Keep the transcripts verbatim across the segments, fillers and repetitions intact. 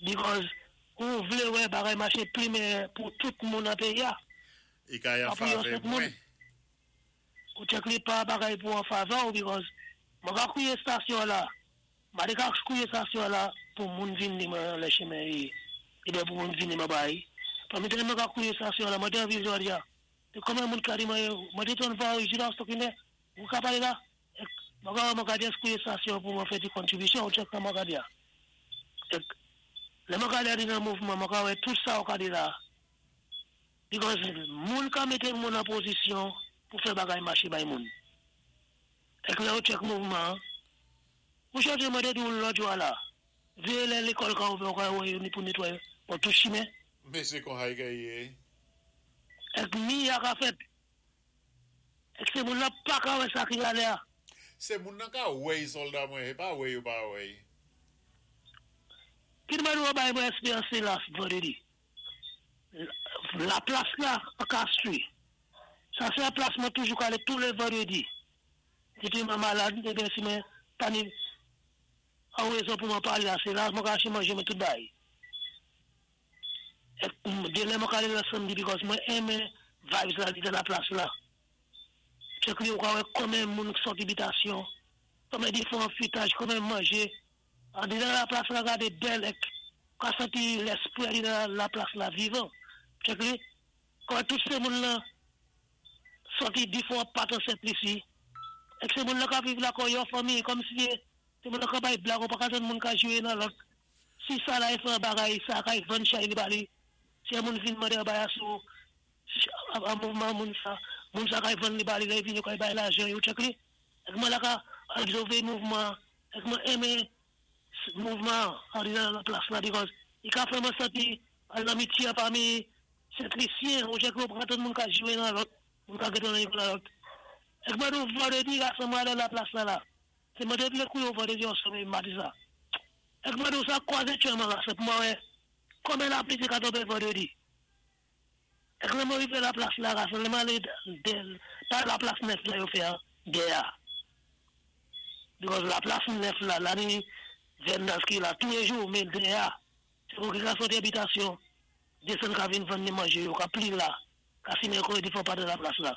Because ou vlé wè bagay maché pli meyè pou tout moun an péyi-a. I kay an Pa pou yon favè sèl moun. mwen. Ou check li pa bagay pou an favè ou because mwen ka kouwé stasyon la. Mwen ka kouwé stasyon la pou moun vin ni mwen lè chimen yi. Ébyen pou moun vin ni mwen bay. Pami mwen ka kouwé stasyon la, mwen té anvi jodi a. É konmen moun ka di mwen, mwen té ton va ou isi la, stokine, ou ka palé la. Mwen ka mwen ka just kouwé stasyon pou mwen fè di kontribisyon, ou check sa mwen ka di a. Ek, lè mwen ka di nan mouvman, mwen ka wè tout sa ou ka di la. Because moun ka mété moun an pozisyon pou fè bagay maché bay moun. Ek lè ou check mouvman, ou chanje mwen te di ou lòt jwa la. Véyé lè lékòl ka ouvè, ou ka wè yo ni pou netwayé, pou tout chimen. Mé sé kon hay kay yé. Ek mi ya ka fèt. Ek sé moun la pa ka wè sa ki alé a. Sé moun nan ka wèy sòlda mwen, é pa wèy yo pa wèy. Ki mwen wè bay mwen espéryans la vandrédi. La plas la, an Castries. Sa sé yon plas mwen toujou ka alé tou lé vandrédi. Dépi mwen malad, ébyen si mwen pa ni an rézon pou mwen palé la, sé la mwen ka aché manjé mwen tout bay. Ek, dé lè mwen ka alé la samdi because mwen enmen vibes la di dan la plas la. Check li ou ka wè konmen moun ki sòt bitasyon, konmen diféwan fritaj, konmen manjé. An di dan la plas la gadé bèl ek, ka santi léspwi di dan la plas la vivan. Check li, kon tout sé moun la sòti diféwan pat an Sent-Lisi. Ek sé moun la ka viv la kon yon fanmi, kòm si sé moun la ka bay blag, ou pa ka jwenn moun ka jwé nan lòt. Si sa la y fè an bagay, sa ka y vann chay li ba li. Si yon moun vin mande an bagay sou, an mouvman moun sa, moun sa ka y vann li ba li, lè vin yo ka y bay lajan, yo check li. Ek mwen la ka obsèvé mouvman, ek mwen enmen mouvman an di dan la plas la, because i ka fè mwen santi an amitye pami Sent-Lisyen, ou check li ou pa ka moun ka jwé nan lòt, moun ka gèt nan yon nan lòt. Ek mwen nou vandrédi, gason mwen alé la plas la la. Sé mwen té vlé kouwé ou vandrédi yon somé madi sa. Ek mwen nou sa kwazé tchè mwen gason pou mwen wè, konmen lapli té ka tonbé vandrédi. Ek lè mwen rivé la plas la gason, lè mwen alé dé, pa la plas nèf la yo fè an, dé a. Because la plas nèf la, la ni vendors ki la, tou lé jou, mé dé a. Sé pou ki ka sòti abitasyon, désann ka vin vann ni manjé yo, ka pli la, ka simen kò yo di fò pa de la plas la.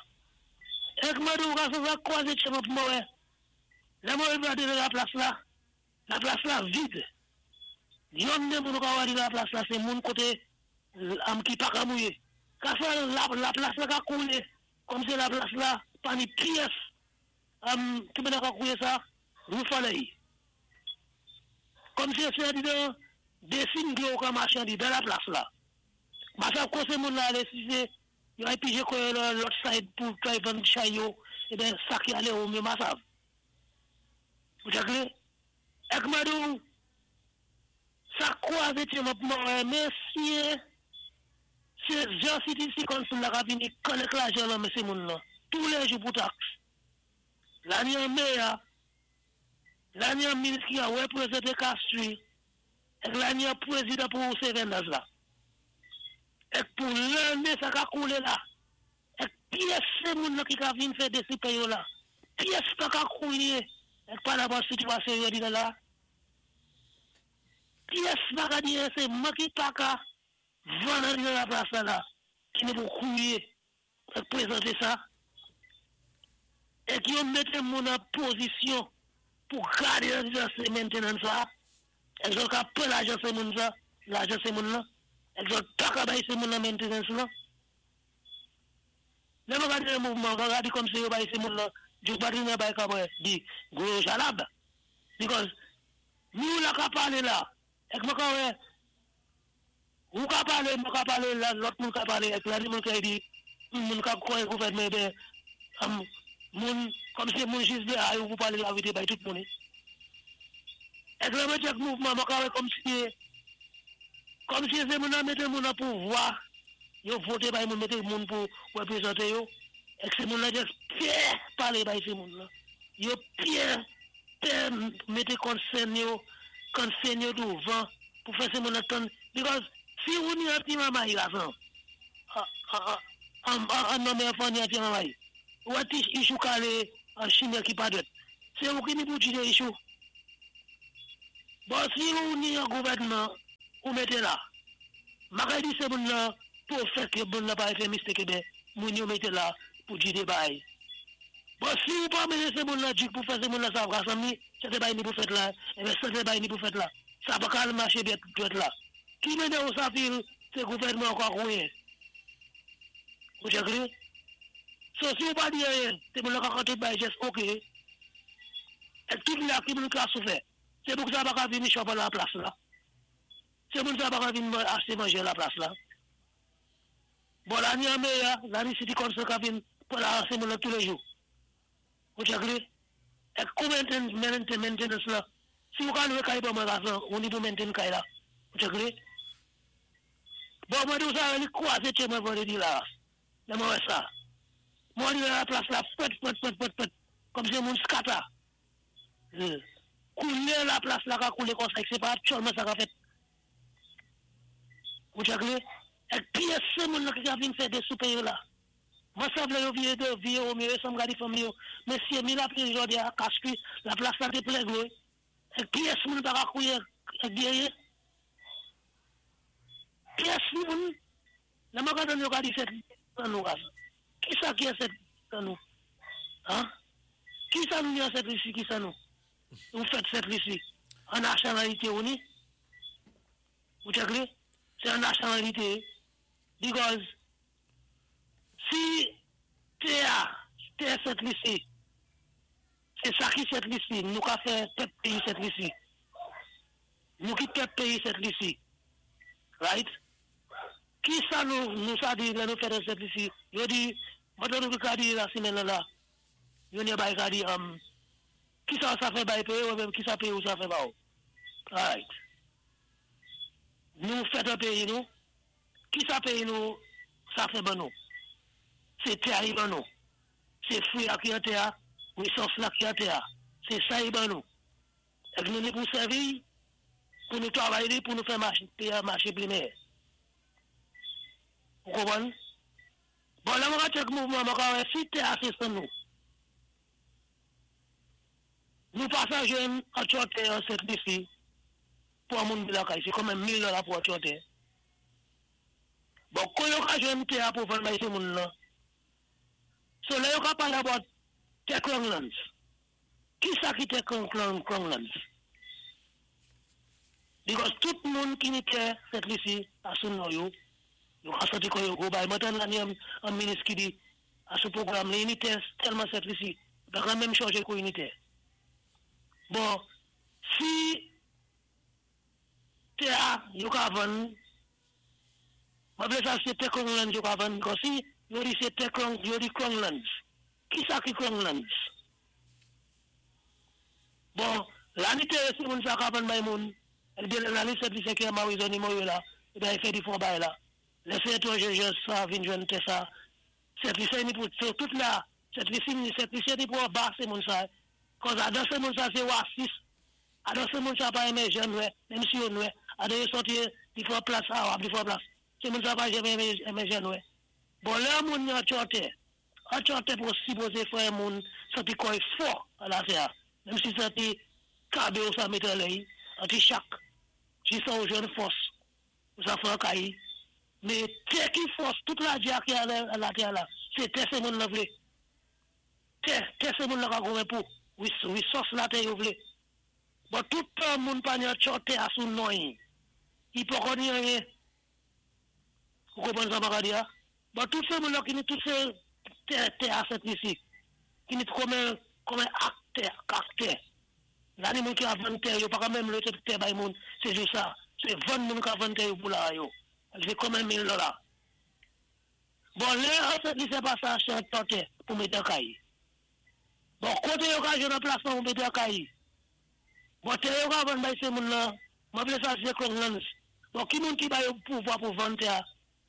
Ek mwen di ou gason sa kwazé tchè mwen pou mwen wè. Lè mwen rivé de la plas la, la plas la vid. Yon né moun ou ka wè di la plas la, sé moun koté am ki pa ka mouyé. Ka fè la, la plas la ka koulé, kòm si la plas la, pa ni pyès. Am, ki mwen ka kouwé sa, rou falèy. Kòm si sé di dan, désin dlo ka maché an di dan la plas la. Ma sa konsé moun la alé si sé, yo ay pijé kò yo nan lòt side pou try vann chay yo, ébyen sa ki alé ou mé ma sav. Ou check li? Ek mwen di ou, sa kwazé tchè mwen pou mwen wè, mesye, sé jan City Council la ka vini kòlèk lajan nan men sé moun lan, tou lé jou pou tax. La ni an mayor, la ni an minis ki a wèpwézanté Castries, ek la ni an pwézidan pou sé vendors la. Ek pou lanné sa ka koulé la. Ek pyès sé moun lan ki ka vin fè dési yo la. Pyès pa ka koulé. Ek pa la bon sitiyasyon yo di la. Pyès pa ka di sé mwen ki pa ka vann an la plas la la. Ki ni pou koulé. Ek pwézanté sa. Ek yo mété moun an pozisyon pou gadé an sé maintenance sa. Ek yo ka pran lajan sé moun sa, lajan sé moun lan. Ek yo pa ka bay sé moun lan maintenance lan. Lè mwen gade le mouvman, mwen gade kòm si yo bay sé moun lan, yo pa di nan bay ka mwen, di, gwo jalab. Because, nou la ka palé la, ek mwen ka wè, ou ka palé, mwen ka palé la, lòt moun ka palé, ek la di moun ka di, moun ka kwè gouvènman ben, am, moun, kòm si moun jis de ay ou pou palé la vérité bay tout moun. Ek lè mwen check mouvman, mwen ka wè kòm si, kòm si sé moun nan mété moun nan pouvwa, yo voté bay moun, mété moun pou wèpwézanté yo, ek sé moun nan jis pè palé bay sé moun nan. Yo pè, pè mété concern yo, concern yo douvan, pou fè sé moun nan tann. Because, si ou ni an ti mamay la san, an, an, an nan men fò ni an ti mamay, ou an ti issue kalé an chimen ki pa dwèt. Sé ou ki ni pou jidé issue. Bon, si ou ni an gouvènman, Ou mété la. M pa ka di sé moun nan pou fè ké moun nan pa fè mistake, ben moun yo mété la pou di dé bagay. Bon, si ou pa mété sé moun nan di pou fè sé moun nan sa rasanm sé dé bagay ni pou fèt la, eh ben sé dé bagay ni pou fèt la. Sa pa ka maché byen dwèt la. Ki mennen ou sa feel sé gouvèdman ankò kouyen. Ou agree? So si ou pa di anyen, sé moun nan ka tout bagay just OK. É tout la ki moun ka soufè. Sé pou sa pa ka vini chòp la plas la. Sé moun sa pa ka vini achté manjé la plas la. Bon, la ni an mayor, la ni city council ka vini pou la sé moun la toulé jou. Ou agree? É kou maintain, maintain, maintenance la. Si ou ka lwé kay pa mwen lasan, ou ni pou maintain kay la. Ou agree? Bon, mwen di ou sa, li kwazé tché mwen vandrédi la. Lè mwen wè sa. Mwen di la plas la, fwèt, fwèt, fwèt, fwèt, fwèt. Kòm si moun scatter. Koulé la plas la ka koulé kon sa, sé pa aktyèlman sa ka fèt. Ou agree? É pyès sé moun la ki ka vin fè dé soupé yo la. Mwen sa vlé yo vié de vié ou miyé, sa m gadi fanmi yo. Mesyé, mi la pli jodi a kaski, la plas la té plen dlo. É pyès moun pa ka kouwé é gyéyé. Pyès moun, lè mwen gade yo ka di Sent an nou ras. Ki sa ki é Sent an nou? Hein? Ki sa nou ni Sent Lisi, ki sa nou? Nou fèt Sent Lisi. An nasyonalité ou ni? Ou agree? Sé an nasyonalité. Because si tè a, tè Sent Lisi, sé sa ki Sent Lisi, nou ka fè pèp péyi Sent Lisi. Nou ki pèp péyi Sent Lisi. Right? Ki sa nou, nou sa di, lè nou fè de Sent Lisi? Yo di, mwen nou ka di la simèn la la, yo ni bay ka di, um, ki sa sa fè bay péyi ou menm ki sa péyi ou sa fè ba ou? Right. Nou fèt an péyi nou, ki sa péyi nou sa fè ban nou? Sé tè a yi ban nou. Sé fwi a ki an tè a, resous la ki an tè a. Sé sa yi ban nou. É nou ni pou sèvi, pou nou travay li, pou nou fè maché, péyi a maché pli meyè. Ou konpwann? Bon, la mwen ka check mouvman, mwen ka wè si tè a sé san nou. Nou pa sa jwenn an tchòtè an Sent Lisi pou an moun bi lakay. Sé kòm mil dola pou an tchòtè. Bon, kon yo ka jwenn tè a pou vann bay sé moun nan. So lè yo ka pale about tè Crown Lands. Ki sa ki tè Crown, Crown, Crown Lands? Because tout moun ki ni tè Sent Lisi a sou non yo, yo ka santi kon yo go bay. Mwen tan la ni an, an minis ki di a sou pwogram li, ni tè tèlman Sent Lisi, pa ka menm chanje kou ni tè. Bon, si tè a, yo ka vann, mwen vle sa sé tè Crown Lands yo ka vann, kon si yo di sé tè Crown, yo di Crown Lands. Ki sa ki Crown Lands? Bon, la ni tè si moun sa ka vann bay moun, el bien la ni Sent Lisi ki a Marizoni mo yo la, e ben fè di fon bay la. Lè étranjé jè sa vin jwenn tè sa. Sent Lisi ni pou tout la, Sent Lisi ni Sent Lisi ni pou ba sé moun sa. Kòz adan sé moun sa sé wasis, adan sé moun sa pa enmen jan nwè, menm si yo nwè, adan yo sòti di fwa plas a wap di fwa plas. Sé moun sa pa enmen enmen jan nwè. Bon, lè moun yon tchòtè, an tchòtè pou sipozé fè moun santi kò'y fò a la tè. Menm si santi kabe ou sa mete lè, an ti chak, jis sa ou jwenn fòs, ou sa fè an kay. Mé tè ki fòs, tout la dia ki a la tè la, sé tè sé moun la vlé. Tè, tè sé moun la ka goumen pou. Resous la tè yo vlé. Bon, tout tan moun pa ni an tchòtè a sou non yi. I poko ni anyen. Ou konpwann sa m ka di a? Bon, tout sé moun la ki ni tout sé tè, tè a Sent Lisi. Ki ni kòm kòm aktè, aktè. La ni moun ki a vann tè yo, pa ka menm lé tè bay moun, sé jou sa. Sé vann moun ka vann tè yo pou la yo. Sé kòm mil dola. Bon, lè an Sent Lisi pa sa achte an tchòtè pou mété an kay. Bon, koté yo ka jwenn an plasman pou mété an kay. Bon, tè yo ka vann bay sé moun nan, mwen vlé sa sé Crown Lands. Bon, ki moun ki bay yo pouvwa pou vann tè,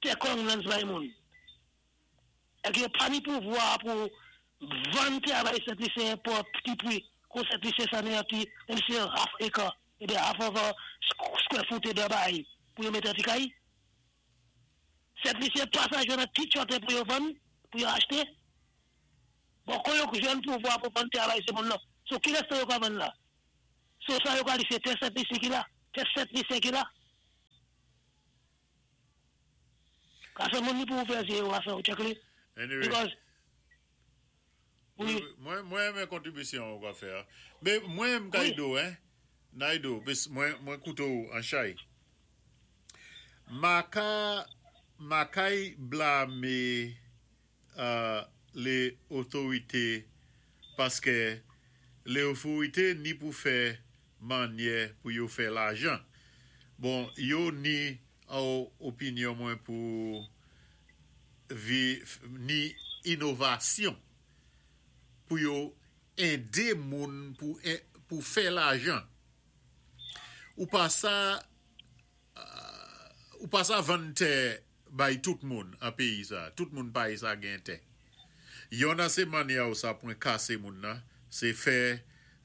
tè Crown Lands bay moun? É ki yo pa ni pouvwa pou vann tè bay Sent Lisyen pou ti pri, kon Sent Lisyen sa ni an ti, menm si half acre, eh bien half of a square foot de bay, pou yo mété an ti kay. Sent Lisyen pa sa jwenn an ti tchòtè pou yo vann, pou yo achté. Bon, kon yo jwenn pouvwa pou vann tè bay sé moun nan, so ki rès yo ka vann la? So sa yo ka di sé tè Sent Lisi ki la, tè Sent Lisyen ki la. Gason, moun ni pou ouvè zé yo, gason, ou check li? Anyway. Because, wi, Mwen, mwen, mwen kontribisyon ou ka fè. Mé mwen m kay Wi. Di ou, hein? Naido, pis mwen, mwen kouté ou an chay. Ma ka, ma kay blamé euh, lé otorité paské lé otorité ni pou fè manyè pou yo fè lajan. Bon, yo ni an opinyon mwen pou vi, ni inovasyon pou yo édé moun pou, pou fè lajan. Ou pa sa euh, ou pa sa vann tè bay tout moun an péyi sa. Tout moun pa sa gen tè. Yon nan sé manyè ou sa pwen kasé moun nan, sé fè,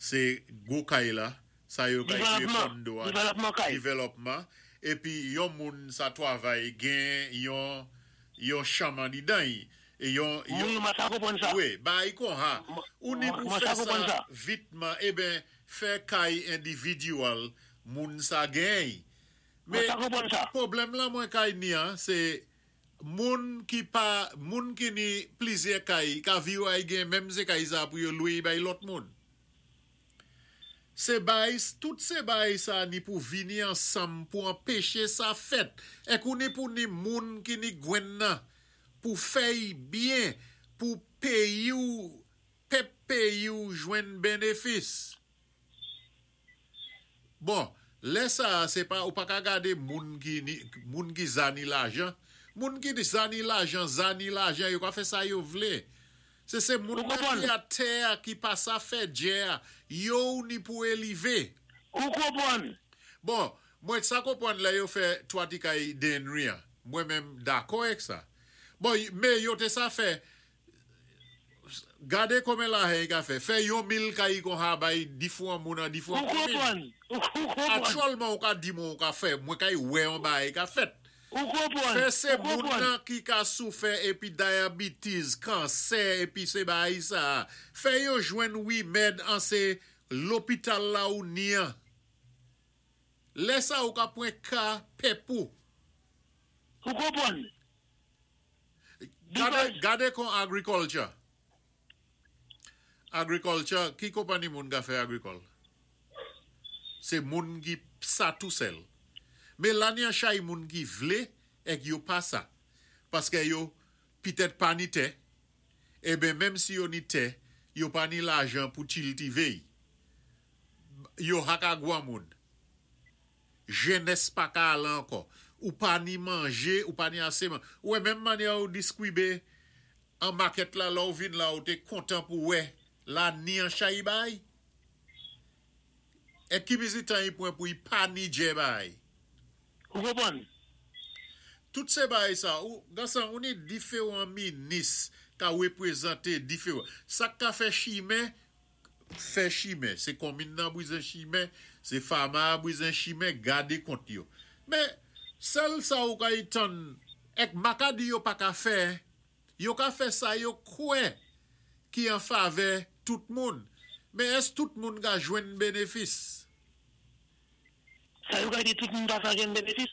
sé gwo kay la, sa yo kay kré Développement. Kondo a, Développement kay. Développement, épi yon moun sa twavay gen yon yon chanm andidan yi, é yon, yon Wi, mwen sa konpwann sa. Wi, ba yi kon ha. Ou ni pou Mwen fè sa konpwann sa sa. Vitman, eh ben, fè kay individual moun sa gen. Mwen Mé sa konpwann sa. pwoblèm la mwen kay ni an, sé moun ki pa, moun ki ni plizyè kay, ka vi yo ay gen, menm sé kay sa pou yo lwé bay lòt moun. Sé bay, tout sé bay sa ni pou vini ansanm pou anpéché sa fèt. Ek ou ni pou ni moun ki ni gwenn nan, pou fè byen, pou péyi ou, pèp péyi ou jwenn bénéfis. Bon, lè sa, sé pa, ou pa ka gadé moun ki ni, moun ki zani lajan. Moun ki ni zani lajan, zani lajan, yo ka fè sa yo vlé. Sé sé moun Ou konpwann? ki a tè ki pa sa fè djè, yo ni pou élévé. Ou konpwann? Bon, mwen sa konpwann lè yo fè twa ti kay Dennery an. Mwen menm dakò ek sa. Bon, mé yo té sa fè, gadé konmen lajan ka fè. Fè yon mil kay kon ha bay difwan moun an difwan Ou komin. konpwann? Ou konpwann? Aktyèlman ou ka di moun ka fè, mwen kay wè an bay ka fèt. Ou konpwann? Fè sé Ou moun konpwann? nan ki ka soufè épi diabetes, kansè, épi sé bay sa. Fè yo jwenn wimèd an sé lopital la ou ni an. Lè sa ou ka pwen ka pèp ou. Ou konpwann? Gade, Because- gade kon agriculture. Agriculture, ki konpanni moun ka fè agrikòl? Sé moun ki sa tou sèl. Mé la ni an chay moun ki vlé ek yo pa sa. Paské yo pitèt pa ni tè, eh ben menm si yo ni tè, yo pa ni lajan pou kiltivé. Yo haka gwa moun. Jenès pa ka al ankò. Ou pa ni manjé, ou pa ni asé man. Ou wè menm manyè ou diskwibé an makèt la, la ou vin la ou té kontan pou wè, la ni an chay bay. É ki bizitan yi pwen pou yi pa ni djè bay. Ou konpwann? Tout sé bay sa, ou, gasan, ou ni diféwan minis ka wépwézanté diféwan. Sa ka fè chimen, fè chimen. Sé konmin nan bwizen chimen, sé fama bwizen chimen, gadé kont yo. Mé, sèl sa ou ka yi tann, ek makadi yo pa ka fè, yo ka fè sa yo kwè ki an favè tout moun. Mé ès tout moun ka jwenn bénéfis? Sa yo ka di tout moun pa sa jwenn bénéfis?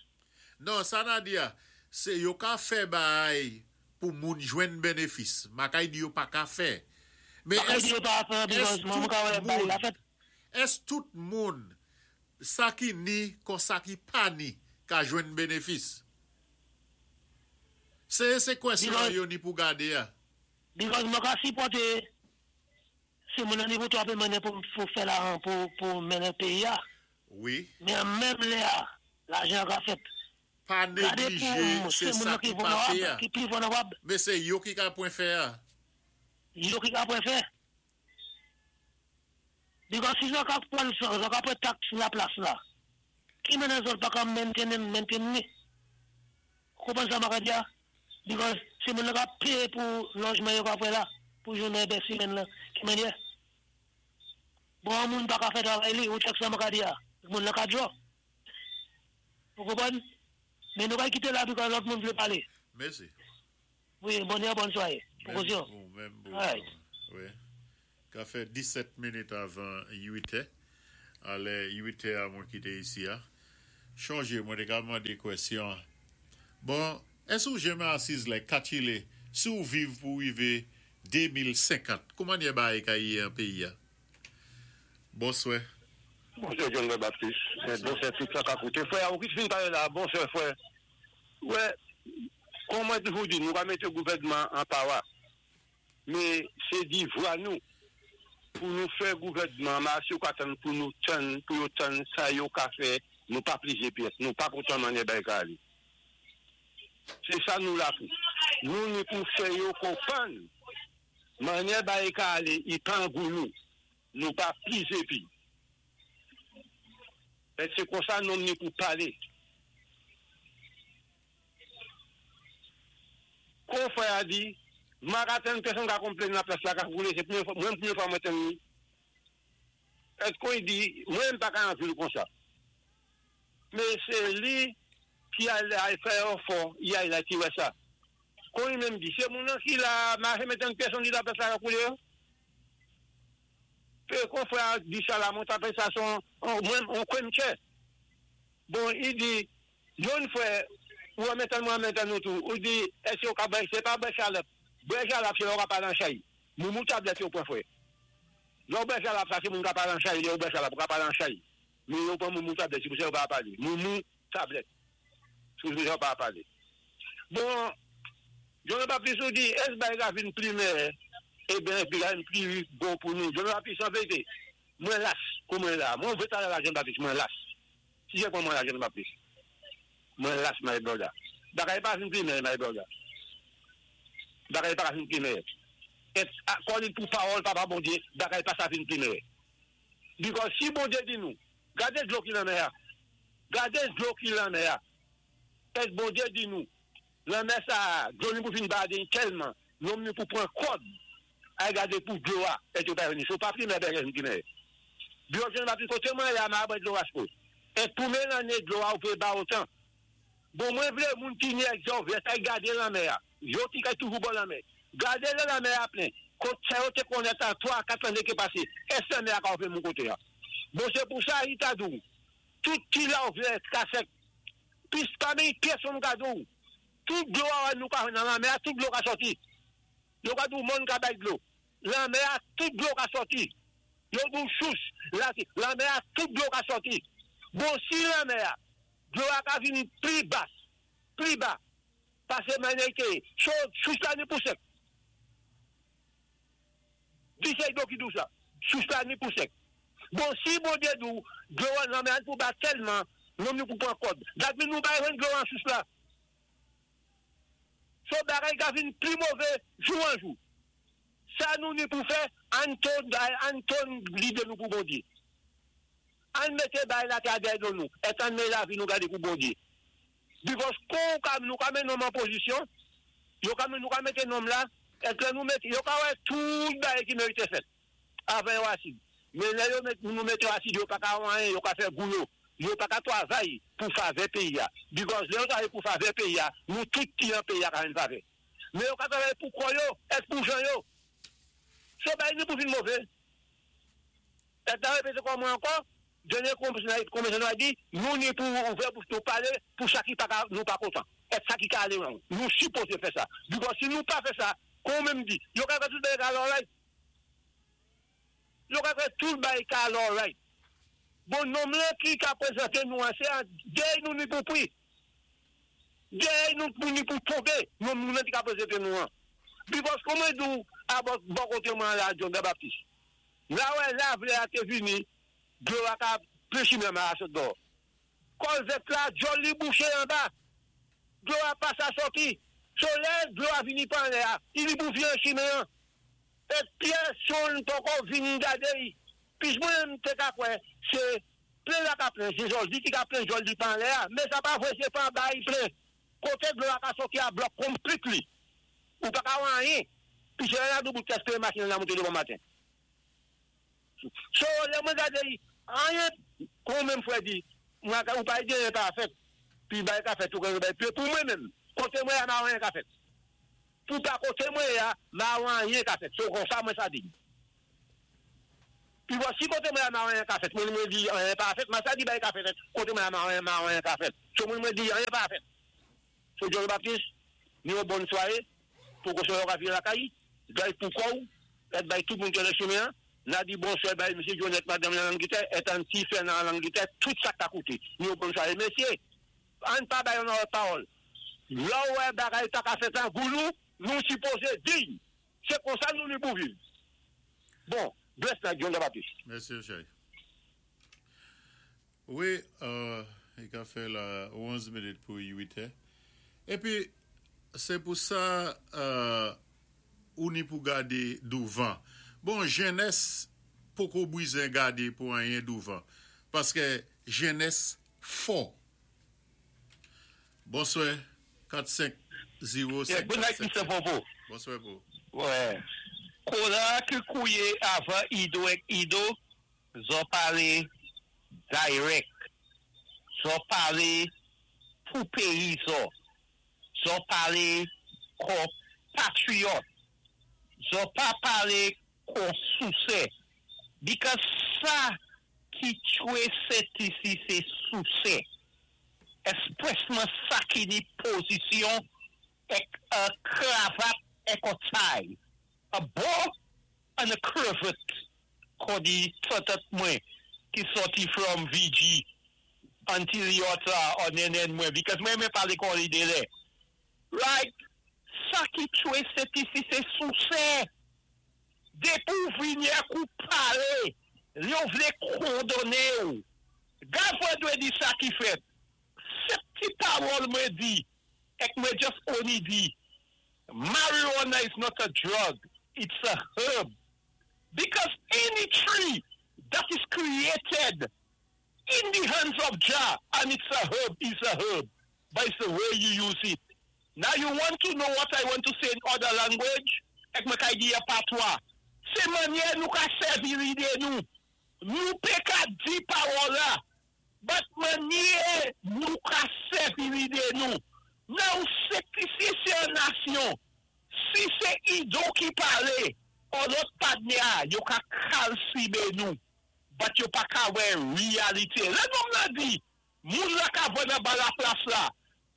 Non, sa na di ya, sé yo ka fè bay pou moun jwenn bénéfis. Makay di yo pa ka fè. Mé Makay ès, di yo pa fè, because ès moun tout ka wè bay moun, la fèt. ès tout moun, sa ki ni kon sa ki pa ni, ka jwenn bénéfis? Sé sé kwèsyon Because- yo ni pou gadé ya. Because mwen ka sipòté sé moun an ni pou twapé mennen pou, pou fè la pou, pou mennen péyi a. Wi, Mé an menm lè a, lajan ka fèt. Pa Gadé néglije pou sé sé moun sa nan ki ki pa fè vulnérab, ya. ki pli vulnérab, Mé sé yo ki ka pwen fè ya. Yo ki ka pwen fè. Because si zòt ka pwan sa, zòt ka pwan tax la plas la, ki mennen zòt pa ka maintain, maintain ni? Konpwann sa ma ka di ya? Because sé moun nan ka péyé pou lojman yo ka fè la, pou jounen dé simenn la, ki mennye? Bon, moun pa ka fè travay li, ou check sa ma ka di ya? Moun nan ka djo. Ou konpwann? Mé nou ka kité la because lòt moun vlé palé. Mèsi. Wi, bonn bonn swawé. Menm Pwokosyon. pou, menm pou. Alright. Wi. Ka fè disèt minit avan uit è. Alè, uit è a mwen kité isi a. Chonjé, mwen té ka mandé kwèsyon. Bon, Èské ou jenmen asiz la, katilé, si ou viv pou wivé de mil senkant, kouman yé bagay ka yé an péyi a? Bonswè. Bonswè, John Baptiste. Bonswè tout sa k ap kouté. Fwè, ou ki fin palé la, bonswè, fwè. Wè, kòm mwen toujou di, nou ka mété gouvèdman an pawa. Mé sé di vwa nou pou nou fè gouvèdman, ma si ou ka tann pou nou tann, pou yo tann sa yo ka fè, nou pa plize pyès, nou pa kontan mannyè bagay ka alé. Sé sa nou la pou. Nou ni pou fè yo konpwann, mannyè bagay ka alé, i pa an gou nou. Nou pa plize pi. É sé konsa nou ni pou palé. Kon fwè a di, ma ka tann pèsonn ka konplenn la plas la ka koulé, sé pwémyé fwa, mwen pwémyé fwa mwen tann ni. Èd kon i di, mwen pa ka an vil konsa. Mé sé li ki al al fè yon fò, i al la ki wè sa. Kon i menm di, sé moun nan ki la, ma jenmen tann pèsonn di la plas la ka koulé yo. Pé kon fwè a di sa la, mwen ta fè sa son, mwen, on kwen mchè. Bon, i di, yon fwè, ou an mentan mwen an mentan nou tou, ou di, èské ou ka bwè, sé pa bwè jalap, bwè jalap sé lè ou ka palé an chay. Moumou tablèt yo pwan fwè. Lè ou bwè jalap sa, sé moun ka palé an chay, lè ou bwè jalap, ou ka palé an chay. Mé yo pwan moumou tablèt, sé pou sa yo pa palé. Moumou tablèt. Sé pou sa yo pa palé. Bon, John Baptiste ou di, èské bagay la vin pli meyè, eh ben, pi la vin pli bon pou nou. John Baptiste, an vérité, mwen las, kou mwen la. Mwen vè talè la John Baptiste, mwen las. Si jè kon mwen la John Baptiste. Mwen las, my brother. Bagay pa vin pli meyè, my brother. Bagay pa vin pli meyè. Et, kon li pou pawòl papa Bondyé, bagay pa sa vin pli meyè. Because si Bondyé di nou, gadé dlo ki lanmè a. Gadé dlo ki lanmè a. Et Bondyé di nou, lanmè sa, dlo ni pou fin bade tèlman, nonm ni pou pran kòd, a gadé pou dlo a, et yo pa vini. So pa pli meyè, bagay vin pli meyè. Because John Baptiste, koté mwen la, ma bwè dlo a spo. Et pou mwen lanné dlo a ou pe ba otan. Bon, mwen vlé moun ki ni ek zo, vè sa gadé lanmè a. Yo ki kay toujou bò lanmè. Gadé lè lanmè a plen. Kote sa yo te konnen tan twa, kat lanné ki pasé. Èské lanmè a ka ouvè moun koté a? Bon, sé pou sa, i ta dou. Tout ki la ouvè ka sèk. Pis pa men pèsonn ka dou. Tout dlo a nou ka nan lanmè a, tout dlo ka sòti. Yo ka dou moun ka bay dlo. Lanmè a, tout dlo ka sòti. Yo dou sous, la, lanmè a, tout dlo ka sòti. Bon, si lanmè a, dlo a ka vin pli bas, pli ba, pasé mannyè ke, so, sous la ni pou sèk. Di sé dlo ki dou sa, sous la ni pou sèk. Bon, si Bondyé dou, dlo a lanmè a pou ba tèlman, nonm ni pou pran kòd. Dat mi nou pa jwenn dlo an sous la. So bagay ka vin pli mové, jou an jou. Sa nou ni pou fè, ann tonn, ann tonn lidé nou pou Bondyé. Ann mété bagay la ka dèyè do nou, et ann mé lavi nou gadé pou Bondyé. Because kon ka, nou ka mé nonm an pozisyon, yo ka, nou ka mété nonm la, et lè nou mété, yo ka wè tout bagay ki mérité fèt, avan yo asid. Mé lè yo met, nou mété yo asid, yo pa ka anyen, yo ka fè gou yo. Yo pa ka twavay pou favè péyi a. Because lè yo twavay pou favè péyi a, nou tout ki an péyi a ka jwenn favè. Mé yo ka twavay pou kò yo, et pou jan yo. So bagay ni pou vin mové. Et la répété kon mwen ankò, dènyé konbinezon a di, nou ni pou ouvè bouch nou palé, pou sa ki pa ka, nou pa kontan. Et sa ki ka alé wrong. Nou sipozé fè sa. Because si nou pa fè sa, kon menm di, yo ka fè tout bagay ka alé alright. Yo ka fè tout bagay ka alé alright. Bon, nonm lan ki ka prézenté nou an, sé an, dèy nou ni pou pri. Dèy nou pou ni pou tonbé, nonm nou ki ka prézenté nou an. Because kouman dou, a bò, bò koté mwen la, John Baptiste. La wè la vlé a te vini, dlo a ka plen chimen ma a sot dò. Kòlvèt la, djòl li bouché anba. Dlo a pa sa sòti. So lè, dlo a vini pa anlè a, i li boufi an chimen an. Et pèsonn poko vini gadé yi. Pis mwen te ka kwè, sé plen la ka plen, sé jòl di ki ka plen jòl di pa anlè a, mé sa pa vwé sé pa anba i plen. Koté dlo a ka sòti a block completely. Ou pa ka wè anyen. Pi sé la dou bout teste machin nan monté de bon maten. So, lè mwen gade yi, anyen, kon menm fwè di, mwen ka, ou pa di anyen pa fèt. Pi bagay ka fèt, ou kon bay, pi pou mwen menm, koté mwen ya ma anyen ka fèt. Pou pa koté mwen ya, ma anyen ka fèt. So, kon sa mwen sa di. Pi wè, si koté mwen ya ma anyen ka fèt, mwen mwen di anyen pa fèt, ma sa di bagay ka fèt, koté mwen ya ma anyen, ma anyen ka fèt. So, mwen mwen di anyen pa fèt. So, John Baptiste, Ni yon bonn swaé, pou kòchon ka vin lakay, bay pou kò'w, èt bay tout moun ki nan chimen, n'a di bonswa bay Mesye Jonette, madam nan Angletè, èt an ti fè nan Angletè, tout sa ka kouté. Ni yon bonn swaé, mesyé, an pa bay yon lòt pawòl. La wè bagay ta ka fèt an goulou, nou sipozé di. Sé konsa nou ni pou viv. Bon, bless night, John Baptiste. Mèsi, Chay. Wi, euh, i ka fè la onz minit pou uit è. Épi, sé pou sa, euh, ou ni pou gadé douvan. Bon, jènès, poko bizwen gadé pou anyen douvan. Paské jènès fò. Bonswa, kat, senk, zewo, Yeah, senk, good night, sèt. Mister Popo. Bonswa pou. Wè. Kola ki kouwé avan Ido èk Ido, zo palé direct. Zo palé pou péyi zo. Zo palé kon patriyòt. Zo pa palé kon sousè. Because sa ki tchwé Sent Lisi sé sousè. Èsprèsman sa ki ni pozisyon èk an kravat èk an tie. A bow and a cravat. Kon di tòtòt mwen ki sòti from V G until yota an nenen mwen. Because mwen mwen palé kon li délé. Right? Sa ki tchwé Sent Lisi sé sousè. Dépi ou vini ak ou palé, yo vlé kondoné ou. Gad dwé di sa ki fèt. Sé ti pawòl mwen di, èk mwen just only di, marijuana is not a drug, it's a herb. Because any tree that is created in the hands of Jah, and it's a herb, is a herb. But it's the way you use it. Now you want to know what I want to say in other language? Èk mwen kay di ya patwa. Sé mannyè nou ka sèvi lidé nou. Nou pé ka di pawòl la. But mannyè nou ka sèvi lidé nou. Now, sé si sé yon nasyon, si sé Ido ki palé, ou lòt patnè, yo ka kalsibé nou. But yo pa ka wè réalité. Lè nonm la di, moun la ka vann ba la plas la,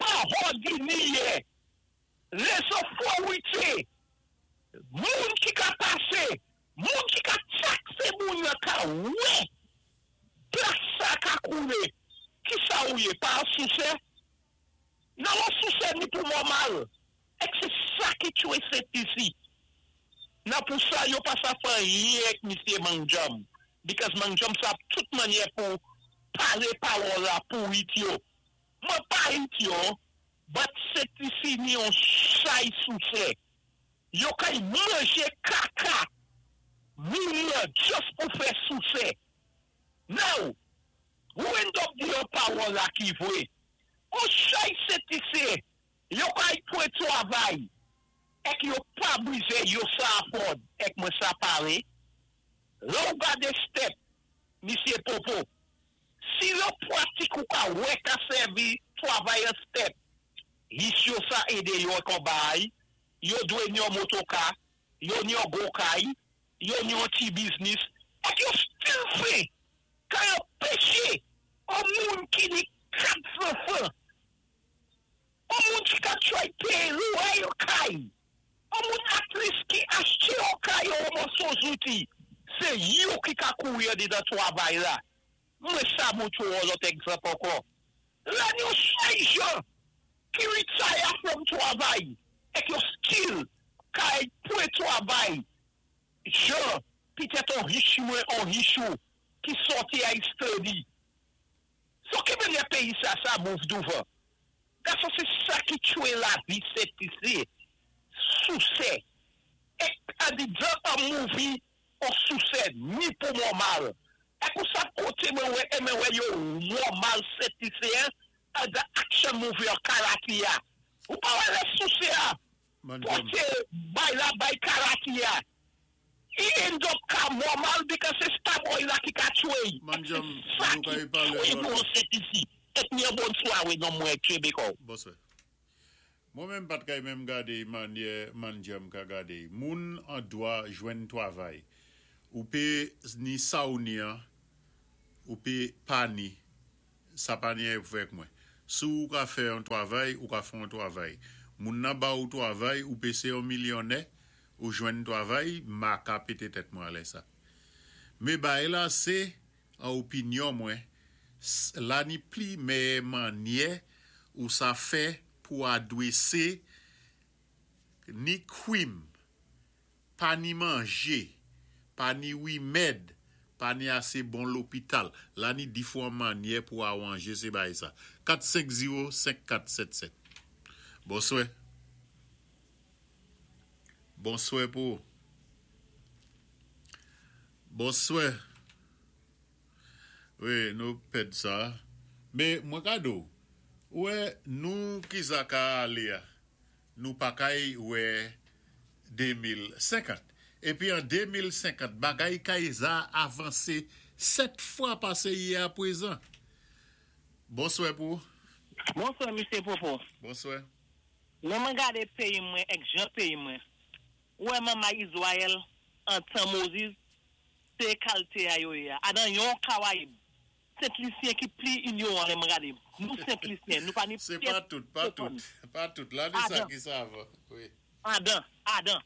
pa òdinè. Les autorités, moun ki ka pasé, moun ki ka taksé moun la ka wè, plas sa ka koulé. Ki sa ou yé? Pa an sousè? Nan an sousè ni pou normal. Èk sé sa ki tchwé Sent Lisi. Nan pou sa, yo pa sa fè anyen misye Mangjam. Because Mangjam sa tout mannyè pou palé pawòl la pou it yo. Mwen pa it yo, but Sent Lisi ni yon chay sousè. Yo kay manjé kaka. Moun la just pou fè sousè. Now, ou end up di yon pawòl la ki vwé? On chay Sent Lisi, yo kay pwé travay. Èk yo pa bwizé yo sa afford, èk mwen sa palé. Lè ou gade step, misye Popo, si yo pratik ou ka wè ka sèvi travay an step, his yo sa édé yo kon bay, yo dwé ni yon motoka, yo ni yon gokay, yo ni yon ti biznis, èk yo still fè, ka yo péché, an moun ki ni kat zanfan, an moun ki ka try pay lwayé yo kay, an moun at least ki achté yo kay yo moso zouti, sé yo ki ka kouri di dan travay la. Mwen sa moun tou an lòt egzanp ankò. La nou chay jan ki retire from travay, èk yo still kay pwé travay, jan, pitèt an rich mwen, an rich ou, ki sòti a study. So ki mènyè péyi sa, sa move douvan? Gason, sé sa ki tchwé lavi Sent Lisi, sousè. Èk a di dan an movie, an sousè, ni pou normal. Èk ou sa koté mwen wè, e mwen wè yo normal Sent Lisi, a da action movie an karate ya. Ou pa wè lè sousè a, Manjam. poté bay la bay karate ya. I end up ka normal because se starboy la ki ka tchwé. Manjam, Sa nou ki ka y pale tchwé lòt. nou Sent Lisi. Èk ni yon bonn swawé non mwen tchwé ko. Bonswa. Mwen menm pat kay menm gade manyè Manjam ka gade. Moun an dwa jwenn travay. Ou pé ni sa ou ni an, ou pé pa ni. Sa pa ni pou fèk mwen. Sou ou ka fè an travay, ou ka fè an travay. Moun nan ba ou twavay, ou pé sé yon milyonnè, ou jwenn twavay, ma ka pété tèt mwen lè sa. Mé bagay la sé, an opinyon mwen, la ni pli meyè mannyè ou sa fè pou adwésé ni kwim, pa ni manjé, pa ni wimèd, pa ni asé bon lopital. La ni difwan mannyè pou awanjé sé bagay sa. kat senk zewo senk kat sèt sèt. Bonswè. Bonswè pou. Bonswè. Wi, nou pèd sa. Mé mwen ka di ou, wè nou ki sa ka alé a, nou pa kay wè de mil senkant. Épi an de mil senkant, bagay kay za avansé sèt fwa pasé yé a pwézan. Bonswè pou. Bonswè, Misye Popo. Bonswè. Lè mwen gadé péyi mwen, èk jan péyi mwen. Wè manmay Izwayèl, an tan Moyiz, sé kalité a yo ya. Adan yon Kawayib. Sent Lisyen ki pli inyowan lè mwen gadé. Nou Sent Lisyen, nou pa ni Sé pa tout, pa tout. Pa tout. La ni sa ki sa va. Wi. Adan, adan.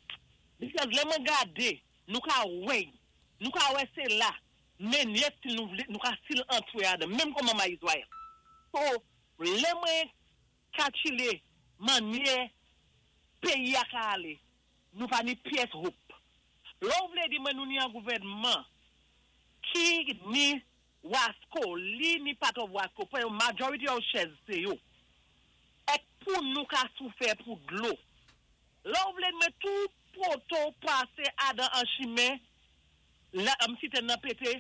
Because lè mwen gadé, nou ka wè, nou ka wè sé la, men yet si nou vlé, nou ka still antwé adan, menm kon manmay Izwayèl. So, lè mwen kalkilé mannyè péyi a ka alé, nou pa ni pyès hope. Lò ou vlé di mwen nou ni an gouvèdman ki ni Wasco, li ni part of Wasco, pou yon majority of shares sé yo. Èk pou nou ka soufè pou dlo. Lò ou vlé di mwen tout poto pasé adan an chimen, la, am siten nan pété,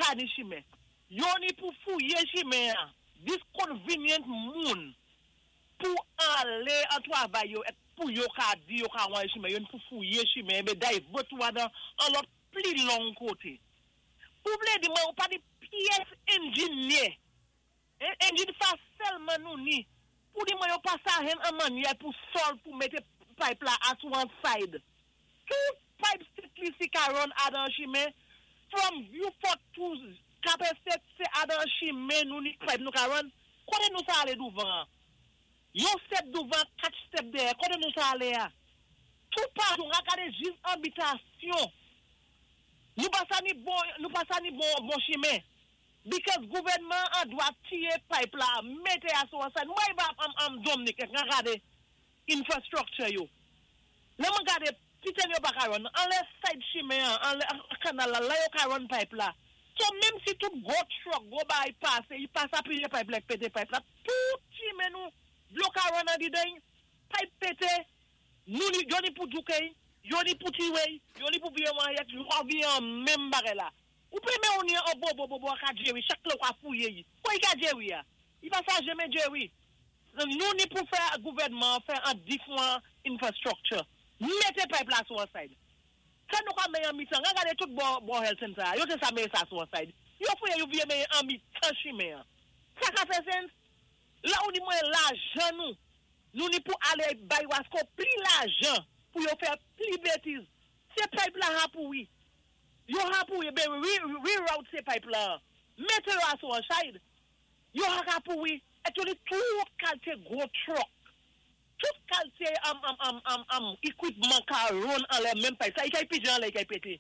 pa ni chimen. Yo ni pou fouyé chimen an, disconvenient moun, pou alé an twavay yo, èk pou yo ka di yo ka wan chimen, yo ni pou fouyé chimen, bé divert ou adan an lòt pli long koté. Pou vlé di mwen, ou pa di pyès engineer. Engine fa sèlman nou ni. Pou di mwen yo pa sa hen an mannyè pou sol pou mété pipe la at one side. Tout pipe Sent Lisi ka run adan chimen, from Vieux-Fort to Cap Estate, sé adan chimen nou ni pipe nou ka run. Koté nou sa alé douvan? Yon step douvan, kat step dèyè. Koté nou sa alé a? Tout patou, an gadé jis an bitasyon. Nou pa sa ni bon, nou pa sa ni bon, bon chimen. Because gouvèdman an dwa tiyé pipe la, mété a sou an side. Mwen ba am, am Dominic, an gadé infrastructure yo. Lè mwen gadé, titen yo pa ka run, an lè side chimen an, an lè kanal la, la yo ka run pipe la. So, menm si tout gwo truck, gwo bagay pasé, yi pasa piye pipe la, pété pipe la, tout chimen nou, dlo ka run an di den, pipe pété, nou ni, yo ni pou djouke, yo ni pou tiwe, yo ni pou viye man yek, yo viye an menm bagay la. Ou pé men ou ni an bo bo bo bo ka Jerry, chak lè ou ka fouye yi. Kwa yi ka Jerry ya? Yi pa sa jeme Jerry. Nou ni pou fè gouvèdman, fè an different infrastructure. Mété pipe la sou an side. Sa nou ka meye an mitan, an gade tout bo, bo health center, yo té sa meye sa sou an side. Yo fouye yo viye meye an mitan chimen an. Sa ka fè sense? La ou di mwen lajan nou, nou ni pou alé bay Wasco pli lajan pou yo fè pli bétiz. Sé pipe la ha pou wi. Yo ha pou wi, bé reroute sé pipe la. Mété yo a sou an side. Yo ha ka pou wi. Et yo li tout kalité gwo truck. Tout kalité am, am, am, am, am, equipment ka run an lè menm pipe. Sa yi kay pije an lè yi kay pété.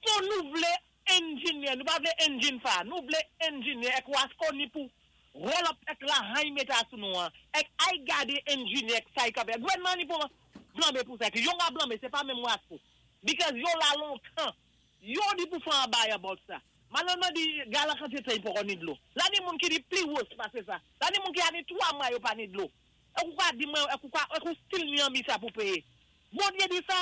So nou vlé engineer, nou pa vlé engine fa, nou vlé engineer èk Wasco ni pou roll up èk la hay mété sou nou an. Èk ay gadé engineer èk sa yi ka fè. Gouvèdman ni pou blanmé pou sa. Yo nga blanmé, sé pa menm Wasco. Because yo la lontan. Yo ni pou fè an bay about sa. Malerezman di gala kantité yi poko ni dlo. La ni moun ki di pli worse pasé sa. La ni moun ki a ni twa mwa yo pa ni dlo. Èk ou ka di mwen, èk ou ka, èk ou still ni an mi sa pou péyé. Bondye di sa,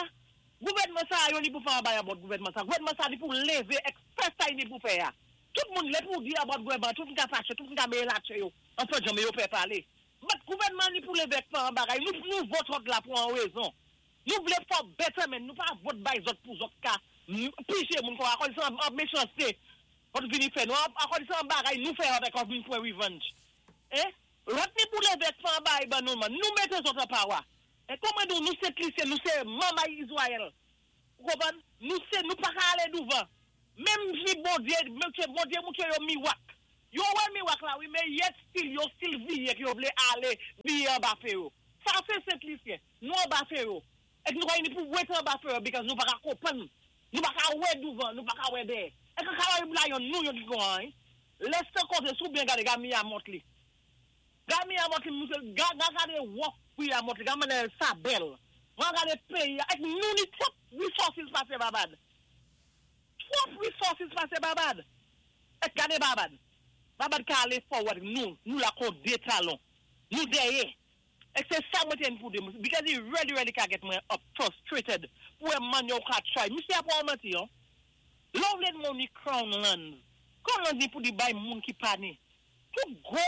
gouvèdman sa yo ni pou fè an bay about gouvèdman sa. Gouvèdman sa ni pou lévé èk fè sa yi ni pou fè ya. Tout moun lè pou di about gouvèdman, tout moun ka faché, tout moun ka meye latché yo. An fè janmé yo fè palé. But gouvèdman ni pou lévé èk fè an bagay. Nou, nou vote hot la pou an wézon. Nou vlé fò betterment, nou pa vote bay zòt pou zòt ka piché moun kon akon sa an méchanceté. Hot vini fè nou, akon sa an bagay, nou fè hot akon vini fè revenge. Eh? Lòt ni pou lévé èk fè an bagay ban nou man, nou mété zòt an power. E kòman nou, nou sé Sent Lisyen, nou sé manmay Izwayèl. Ou konpwann? Nou sé, nou pa ka alé douvan. Menm si Bondye, menm si Bondye moutré yo miwak. Yo wè miwak la, wi, mé yet still, yo still viye ki yo vlé alé viye an ba fé yo. Sa Sa sé Sent Lisyen. Nou anba Fero. Èk nou ka ni pou wété anba Fero because nou pa ka konpwann. Nou pa ka wè douvan, nou pa ka wè dèyè. Èk Karayib la yon nou yon ki kon an. Lè se koté sou byen gadé ga Mia Mottley. Ga Mia Mottley, moussé, ga, ga gadé wòk Mia Mottley, ga mannè sa bèl. Ga gadé péyi, èk nou ni twòp resources pasé Barbade. Twòp resources pasé Barbade. Èk gadé Barbade. Barbade ka alé forward, nou, nou la kon dé talon. Nou dèyè. Èk sé sa mwen té pou di. Because he really, really ka get mwen up frustrated. Pou wè man yo ka try. Misye a pa manti yo. Lò vlé moun ni Crown Lands. Crown Lands ni pou di bay moun ki pa ni. Tout gwo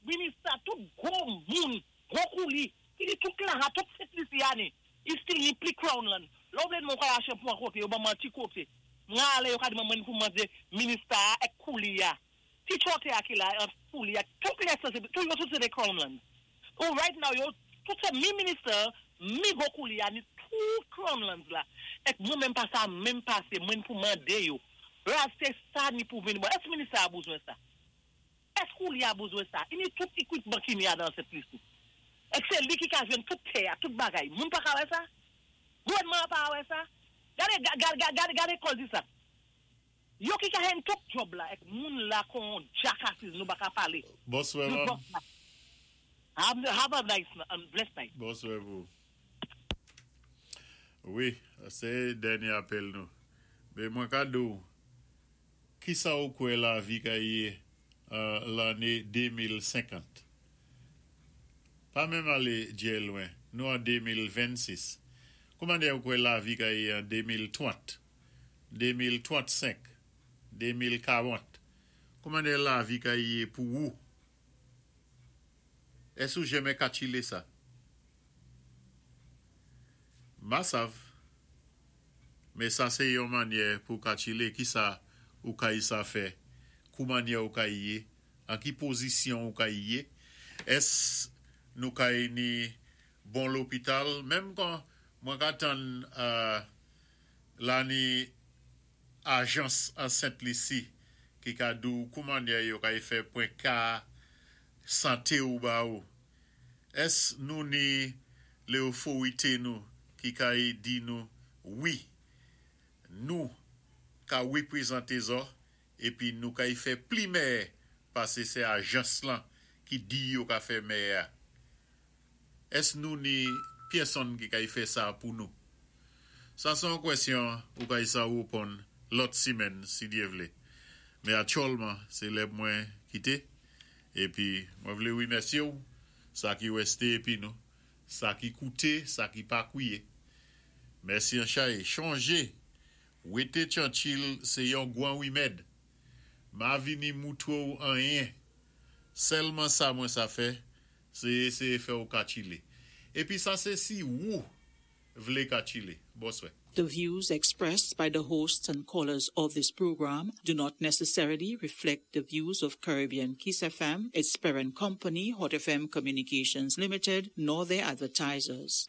minister, tout gwo moun, gwo kouli, ki di tout la, tout Sent Lisi ni. I still ni pli Crown Land. Lò vlé moun ka aché pou an koté, yo ban man ti koté. Mwen alé yo ka di mwen pou mande minister ek kouli ya. Ti chote a ki la, an kouli ya, tout lè sa, tout yo tout sé de Crown Land. Ou right now yo, tout sé mi minister, mi gwo kouli ya, ni tout Crown Lands la. Èk mwen menm pa sa, menm pasé, mwen pou mandé yo. La, sé sa ni pou vini. Bon, èsk minister a bezwen sa? Èsk kouli a bezwen sa? I ni tout equipment ki ni a dan Sent Lisi. Èk sé li ki ka jwenn tout tè a, tout bagay. Moun pa ka wè sa? Gouvèdman pa wè sa? Gadé, gadé, gadé, gadé kòl di sa. Yo ki ka hen tout job la, èk moun la kon jackasses nou pa ka palé. Bonswè, Nou mam. bos la. Have, have a nice and blessed night. Bonswè pou. Wi, sé dènyé apèl nou. Mé mwen ka di ou, ki sa ou kwè lavi ka yé euh, lanné de mil senkant? Pa menm alé djé lwen, nou an de mil vennsis. Kouman ou kwè lavi ka yé an de mil trant, de mil trannsenk, de mil karant? Kouman lavi ka yé pou ou? Ès ou jenmen katchilé sa? Ma sav. Mé sa sé yon mannyè pou katchilé ki sa ou kay sa fè, kouman ou kay yé, an ki pozisyon ou kay yé. Ès nou kay ni bon lopital, menm kan mwen ka tann euh, la ni ajans an Sent Lisi ki ka di ou kouman yo kay fè pwen ka santé ou ba ou. Ès nou ni lé otorité nou ki kay di nou wi, nou ka wéprezanté zo épi nou kay fè pli mèyè pasé sé ajans lan ki di yo ka fè mèyè. Ès nou ni pèsonn ki kay fè sa pou nou? Sa sé yon kwèsyon ou kay sa wéponn lòt simenn si Dye vlé. Mé aktyèlman, sé lè mwen kité épi mwen vlé wimèsyé ou sa ki wèsté épi nou, sa ki kouté, sa ki pa kouwé. Mèsi an chay, chonjé. Wété tyanchil, sé yon gwan wimèd. Ma vini moutwé ou anyen. Sèlman sa mwen sa fè, sé éséyé fè ou katchilé. Épi sa sé si ou vlé katchilé. Bonswè. The views expressed by the hosts and callers of this program do not necessarily reflect the views of Caribbean Kiss F M, its parent company, Hot F M Communications Limited, nor their advertisers.